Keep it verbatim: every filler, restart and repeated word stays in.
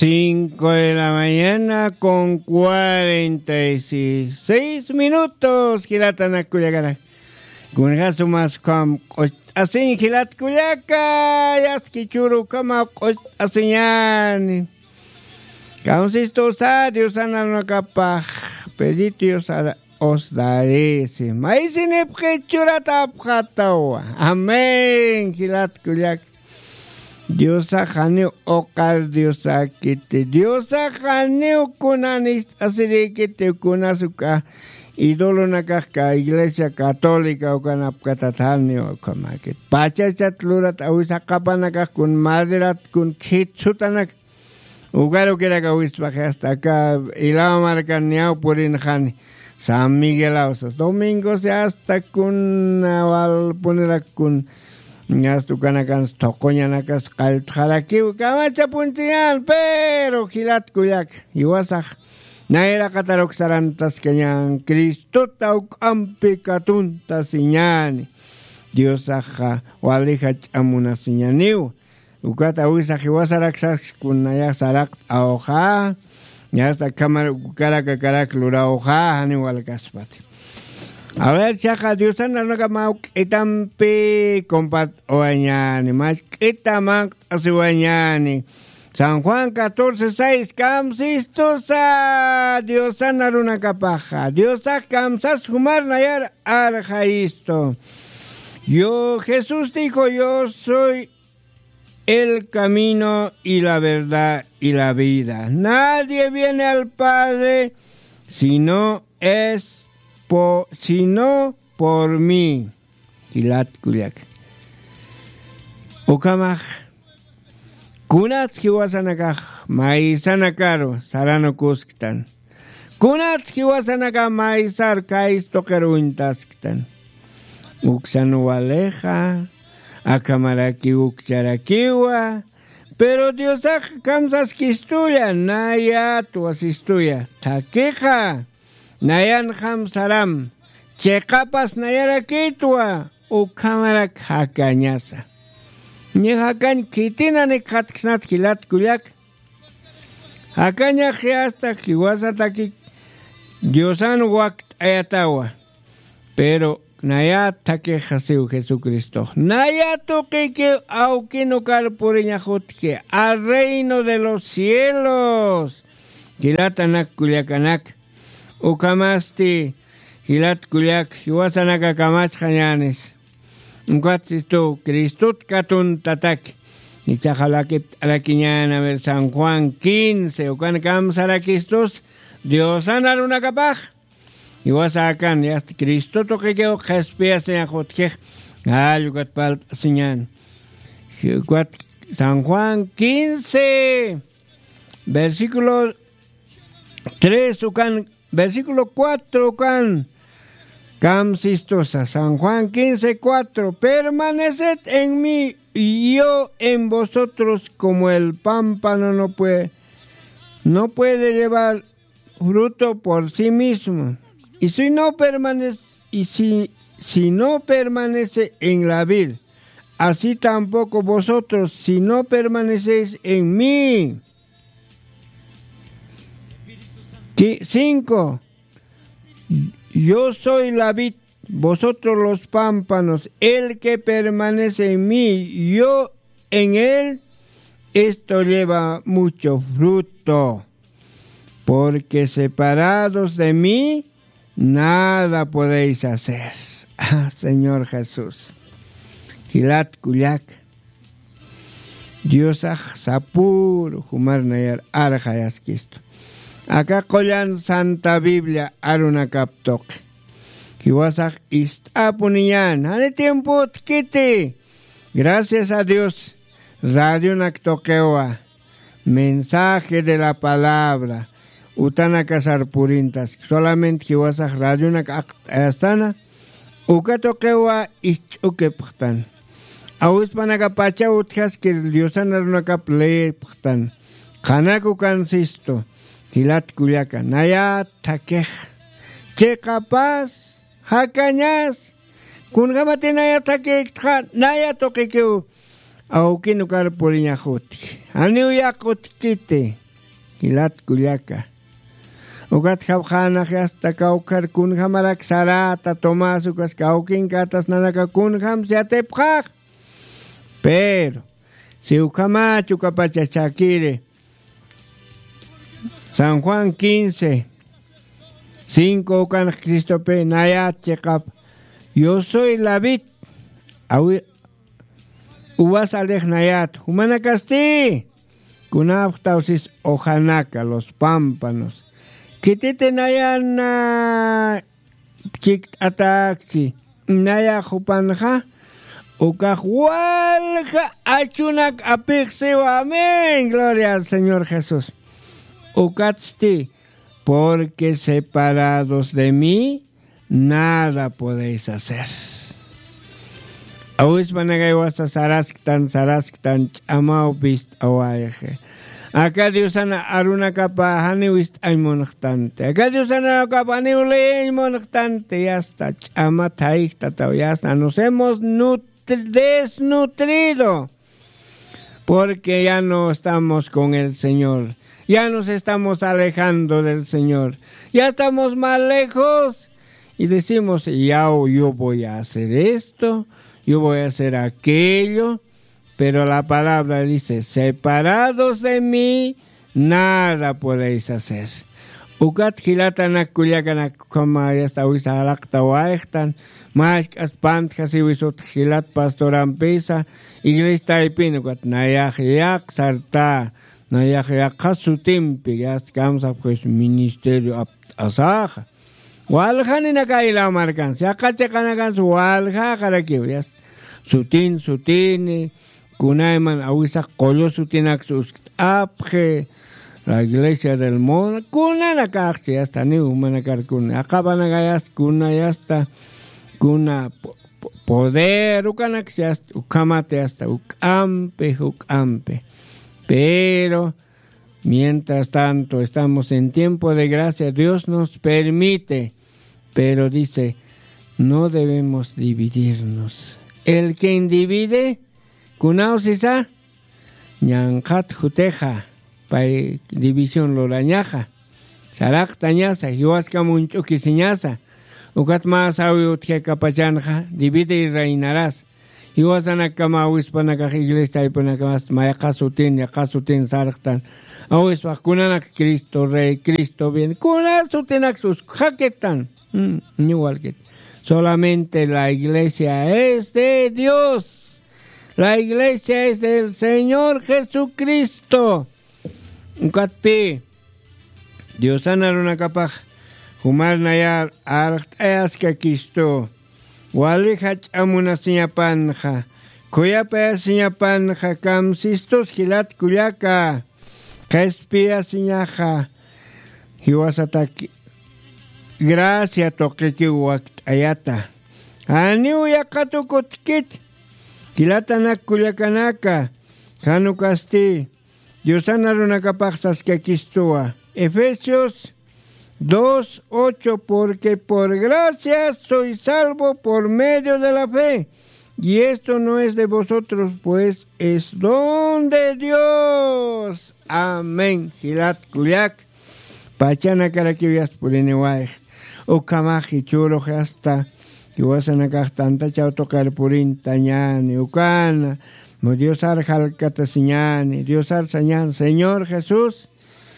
Cinco de la mañana con cuarenta y seis minutos, jilatanak kullakanak. Kunjämas ukham q'ucht'asiñ jilat kullaka, yatki churu ukhamaw q'ucht'asiñäni. Kamsistusa Diosan arunakapax, Pedrito Diosa os darisi. Maysinipxi churatapxatawa. Amén, jilat kullak. Diosax janiw uqar Diosäkiti. Diosax janiw kunan ist'asirïkiti, kunas uka idolonakax ka iglesia católica ukanapkatat janiw ukhamäkit. Pachachat lurat awisa qapanakax kun maderat kun khit sutanak. Ukarukiraka wispaxi hasta aka Ilao markan niyaw purinxani. San Miguelaw sas. Domingos hasta kuna walpunirak kun. Hasta ukanakan thuquñanakas qalltxarakiw kamachapunchiñan, pero jilat kullak. Jiwasax nayraqataruk sarantaskañan Cristota uk'ampi katuntasiñani. Diosaxa wali jach'a munasiñaniw. Ukat awisa jiwasarak sas kun nayax saraqt'awxa, yasta akhamar ukaraka karak lurawxa, janiw walkaspati. A ver, chaqa Diosan arunakap mä juk'ampi compart'awañäni, mä juk'ita manq't'asiwañäni. San Juan catorce seis, kamsistusa Diosan arunakapaxa. Diosax kamsas jumar nayar arxayistu. Yo, Jesús dijo, "Yo soy el camino y la verdad y la vida. Nadie viene al Padre si no es po-, si no por mí". Jilat kullak. Ukhamax, kunats jiwasanakax maysanakaru saranukusktan. Kunats jiwasanaka maysar kaystuqir uñtasktan. Uksan walixa, akhamarakiw ukcharakiwa, pero Diosax kamsaskistuya, nayatwa sistuya, thakixa, nayanxam saram, chiqapas nayarakitwa, ukhamarak jakañasa. Ni jakañ khitina nikxatksnat jilat kullak. Jakañax yasta jiwasatakik Diosan wakt'ayatawa. Pero nayat thakixasiw Jesucristox. Nayat tuqikiw awkin ukar puriñax utji. Al reino de los cielos. Jilatanak kullakanak. Ukhamasti jilat kullak jiwasanaka kamachxañänis. Ukat sistu Cristot katuntataki. Ichaxa lakipt'arakiñäni, a ver, San Juan quince, ukan kamsarakistus Diosan arunakapax. Jiwasakan, yasta Cristo tuqikiw qhispiyasiñax utjix, jall ukat parlt'asiñäni. Ukat San Juan quince, versículo tres ukan, versículo cuatro ukan, kamsistusa, San Juan quince cuatro, "Permaneced en mí y yo en vosotros, como el pámpano no puede, no puede llevar fruto por sí mismo. Y si no permanece, y si, si no permanece en la vid, así tampoco vosotros, si no permanecéis en mí". Qui-, cinco. "Yo soy la vid, vosotros los pámpanos. El que permanece en mí, yo en él, esto lleva mucho fruto. Porque separados de mí, nada podéis hacer". Ah, Señor Jesús. Jilat kullak. Diosax sapüru jumar nayar arxayaskistu. Aka qullan Santa Biblia arunakap tuqi. Jiwasax ist'apuniñän, jani tiempo utjkiti. Gracias a Dios, radionak tuqiwa. Mensaje de la palabra. Utanakasar purintas. Solamente jiwasax radionak aqt'ayastana. Uka tuqiwa isch'ukipxtan. Awispanakapacha utjaskir Diosan arunakap leepxtan. Qhanaku kansistu. Jilat kullaka. Nayat thakix. Chiqapas. Jakañas. Kunjamati nayat thakïktxa. Nayat tuqikiw. Awkin ukar puriñax utji. Janiw yaqha utjkiti. jilat kullaka. Ukat japxanax yasta kawkhar kunjamarak sarata tomás ukas kawkinkatas nanaka kunjam siatipxax. Pero si ukhamachu kapacha chakiri san juan quince cinco ukanx cristopi nayat chiqap, yo soy lavit awi uvas alixnayat jumanakasti. Kunapxtawsis ojanaka los pampanos khititi nayana chikt'atakchi. Nayax jupanxa ukax walja achunak apixsiwa amén gloria al señor jesús. Ukatsti porque separados de mí nada podéis hacer. Awispanakay wasa sarasktan sarasktan ch'amaw pist'awayxi. Aka diosana arunakapa janiw ist'añ munxtanti aka diosana arunakapa janiw leeñ munxtanti yasta ch'ama thayjtataw yasta nos hemos nutri- desnutrido. Porque ya no estamos con el señor, ya nos estamos alejando del señor, ya estamos más lejos. Y decimos ya yo voy a hacer esto, yo voy a hacer aquello. Pero la palabra dice separados de mí nada podéis hacer. Ukat jilatanak kullakanak ukhama yasta awisa jalaqta wayxtan. Mask'as pantjasiwisut jilat pastorampisa iglesia taypin ukat nayax yaq sarta nayax yaqha sutimpi yasta kamsapxis ministerio apt'asaxa. Waljaninakayla markans yaqha chiqanakans waljaxarakiw yasta sutin sutini. Kunayman awisax qullu sutinaksa uskt'apxi. La iglesia del mundo kunanakaxchi yasta niw jumanakar kuna aqapanakayasta kuna yasta kuna poder ukanaksa yasta ukhamata yasta uk'ampi juk'ampi. Pero mientras tanto estamos en tiempo de gracia dios nos permite. Pero dice no debemos dividirnos. El que individe kunaw sisa ñanqhat jutixa pay división lurañaxa. Saraqtañasa jiwaskam uñch'ukisiñasa. Ukat mä sawi utjikapachanxa divide y reinaras. Jiwasanakkama awispanakax iglesia taypunakamas mayqa sutin yaqha sutin sarqtan. Awispax kunanak cristo rey cristo bien kuna sutinaksa uskxakittan. Ñuwalkit solamente la iglesia es de dios. La iglesia es del señor jesucristo. Ukatpi diosan arunakapax jumar nayar arxt'ayaskakistu. Wali jach'a munasiñapanxa khuyapayasiñapanxa kamsistus jilat kullaka. Qhispiyasiñaxa jiwasataki gracia tuqikiw wakt'ayata. Janiw yaqha tukutkit jilatanak kullakanaka. Jan ukasti diosan arunakapax saskakistuwa. Efesios dos ocho. Porque por gracia sois salvo por medio de la fe. Y esto no es de vosotros pues es don de dios. Amén jilat kullak. Pachanakarakiw yasta puriniwayx. Ukhamax jichhürux yasta jiwasanakax tantachaw tuqir purintañäni ukana. Diosar jalkatasiñäni diosar sañäni señor jesús.